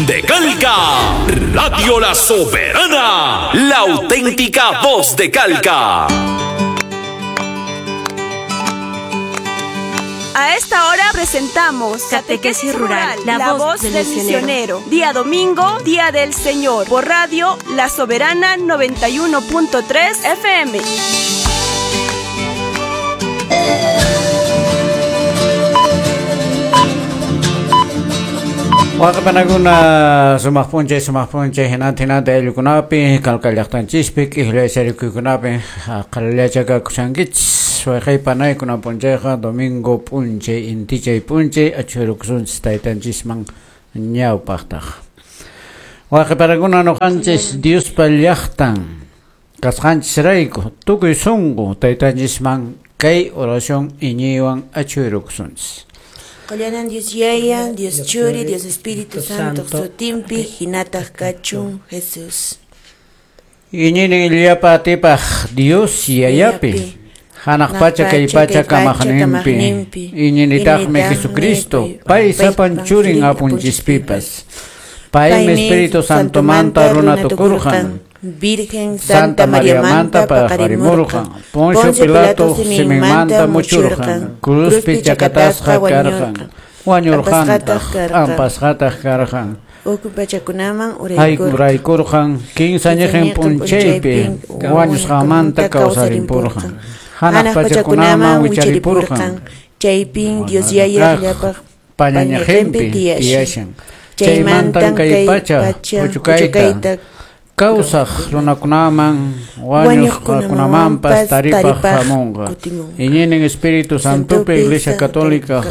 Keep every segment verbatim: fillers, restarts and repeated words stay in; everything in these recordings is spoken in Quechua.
de Calca. Radio La Soberana, la auténtica voz de Calca. A esta hora presentamos Catequesis Rural, la, la voz, voz del, del misionero. misionero. Día domingo, Día del Señor, por Radio La Soberana noventa y uno punto tres F M. Waqapanakuna sumaq p'unchay sumaq p'unchay hinantin hinantin ayllukunapi Calca llaqtanchispi k'ijlla yacharikuykunapi qallachakakushankichis wayqay panaykuna p'unchayqa domingo p'unchay intichay p'unchay achhurukusunchis taytanchisman ñawpaqtaq waqapanakuna nuqanchis Diospa llaqtan kasqanchisrayku tukuy sunqu taytanchisman kay oración iñiywan achhurukusunchis. Qollanan Dios Yaya, Dios Churi, Dios Espíritu Santo, sutinpi, hinataq kachun Jesús. Iñini llapa atipaq Dios Yayapi, hanaq pacha kay pacha kamaqninpi, iñinitaqmi Jesucristo, pay sapan churin apunchispipas, paymi Espíritu Santomanta runa tukurqan, Virgen Santa Mariamanta paqarimurqan, Poncio Pilato siminmanta muchurqan, cruzpi chakatasqa karqan, wañurqantaq, p'ampasqataq karqan, uku pachakunaman uraykurqan, kinsa ñiqin p'unchaypi wañusqanmanta kawsarimpurqan, hanaq pachakunaman wicharipurqan, chaypin Dios Yaya llapaq pañañiqinpi tiyashan, chaymantan kay pacha puchukayta kawsaq runakunaman wañuqkunamanpas taripaq hamunqa. Iñinin Espíritu Santopi Iglesia Católica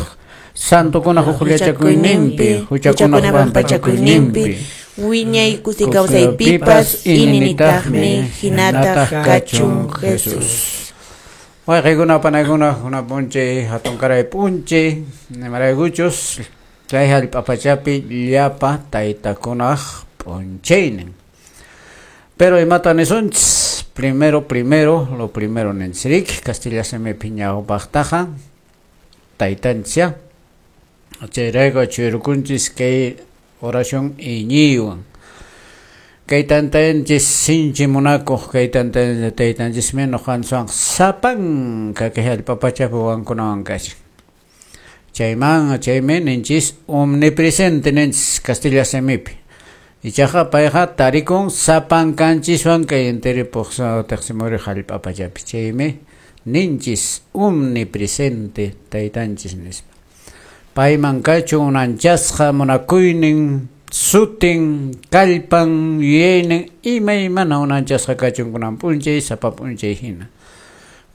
santokunaq hukllachakuyninpi huchakunaq pampachakuyninpi wiñay kusi kawsaypipas ininitaqmi hinataq kachun Jesús. Wayqaykuna panaykuna kuna p'unchay hatunkaray p'unchay nimaraykuchus chay hallp'a pachapi llapa taytakunaq p'unchaynin. Pero imata nisunchis, primero, primero, lo primero ninchirik, Castilla simipi ñawpaqtaqa, taytanchis, chayrayku achhurukunchis kay oración iñiywan. Kay tantanchis sinchi munakuq, kay taytanchismi nuqanchikwan sapanka kay hallp'a pachapi wawankunawan kashan. Chayman, chaymi ninchis omnipresente ninchis Castilla simipi. Ichaqa payqa tarikun sapankanchiswan kay entero teqsimuri hallp'a pachapi chaymi ninchis omnipresente taytanchis nispa. Payman kachun unanchasqa munakuynin sutin kallpan yuyaynin imaymana unanchasqa kachun kunan p'unchay sapa p'unchay hina.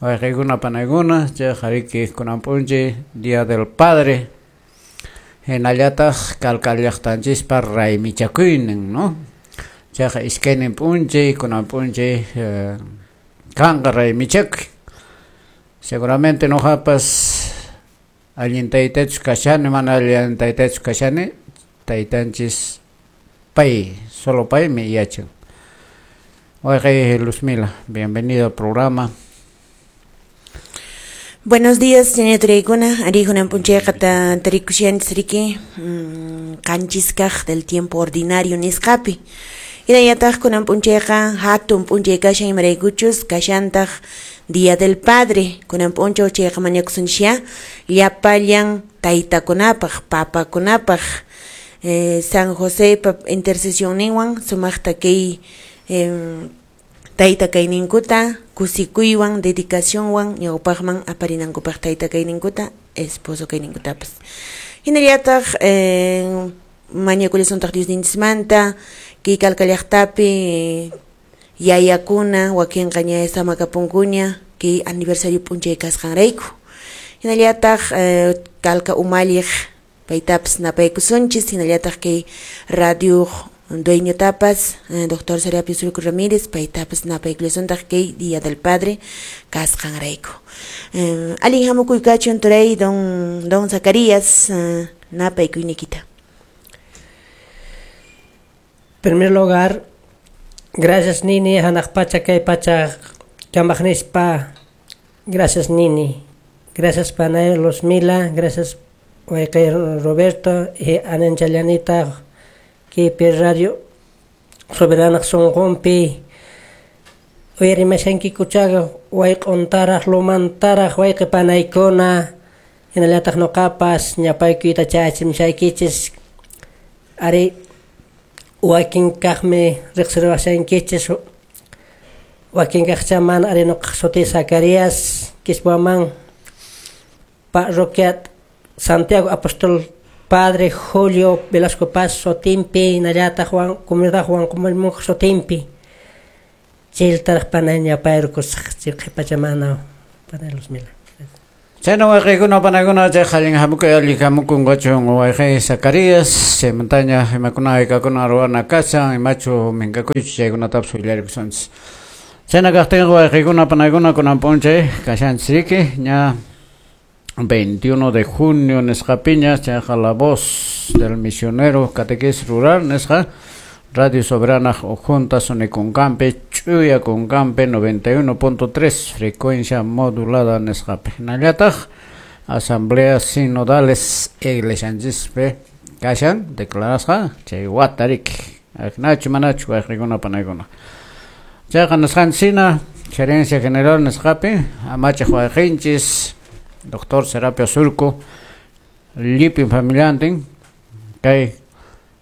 Wayqaykuna panaykuna chayqa riki kunan p'unchay Día del Padre hinallataq Calca llaqtanchispa raymichakuynin, ¿no? Chayqa iskaynin p'unchay kunan p'unchay eh, kanqa raymichakuy. Seguramente nuqapas allin taytachus kashani, mana allin taytachus kashani, taytanchis pay, solo paymi yachan. Wayqay Luzmila, bienvenido al programa. Buenos días, señora Turaykuna. Arijunan p'unchayqa tarikushanchis riki qanchiskaq del tiempo ordinario nisqapi. Hinallataq kunan p'unchayqa hatun p'unchay kashan imaraykuchus kashantaq Día del Padre. Kunan p'unchaw chayqa mañakusunchis llapallan taytakunapaq, papakunapaq, eh, San José pa intercesionninwan sumaqta kay eh, tayta kayninkuta kusikuywan dedicacionwan ñawpaqman aparinankupaq tayta kayninkuta esposo kayninkutapas. Hinallataq eh, mañakullasuntaq Diosninchismanta kay Calca llaqtapi yayakuna wakinqa ña samakapunkuña kay aniversario p'unchay kasqanrayku. Hinallataq eh, Calca umalliq paytapas napaykusunchis hinallataq kay radio dueño tapas, eh, doctor Serapio Surco Ramírez, paytapas napaykullasuntaq kay Día del Padre kasqanrayku. Eh, alin hamukuy kachun turay don don Zacarías, eh, napaykuynikita. En primer lugar, gracias Nini, hanaq pacha kay pacha kamaqnispa, gracias Nini, gracias panay Luzmila, gracias wayqay Roberto y ananchallanita Kaypi radio Soberana sunqunpi uyarimashankikuchaqa wayq'untaraq lumantaraq wayqi panaykuna hinallataq nuqapas ñapaykuyta chayachimshaykichis ari wakin kaqmi riqsiriwashankichis wakin kaqchaman ari nuqaq sutiy Zacarías Quishuaman parroquia Santiago Apóstol Padre Julio Velasco Paz sutinpi hinallataq Juan comunidad Juan Comalmunq sutinpi chaytaraq panay ñapayrukusaq chay qhipachamana panay Luzmila. Chayna wayqikuna panaykuna chay allin hamukuy allin hamukunqachun wayqi Zacarías chaymantaña imakuna haykakuna ruwana kashan imachu minkakuychu chaykunatapas willarikusunchis. Chayna kaqtinqa wayqikuna panaykuna kunan p'unchay kashanchis riki ña veintiuno de junio nisqapiña chayqa La Voz del Misionero Catequesis Rural nisqa Radio Soberana Junta Sonikunkampi Ch'uya Kunkampi noventa y uno punto tres frecuencia modulada nisqapi hinallataq Asambleas Sinodales Iglesianchispi kashan declarasqa chay wata riki ajnachu manachu wayqikuna panaykuna chayqa nisqanchis Gerencia General nisqapi amachaq wayqinchis Doctor Serapio Surco llipin familiantin kay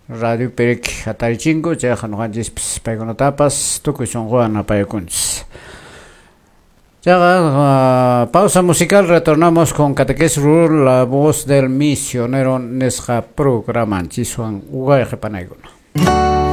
Radio Perek hatarichinko chayqa ñuqanchispis paykunatapas tukuy sunquwan apaykunchis. Chayqa uh, pausa musical, retornamos con Catequesis Rural, La Voz del Misionero nisqa programanchis wayqi panaykuna.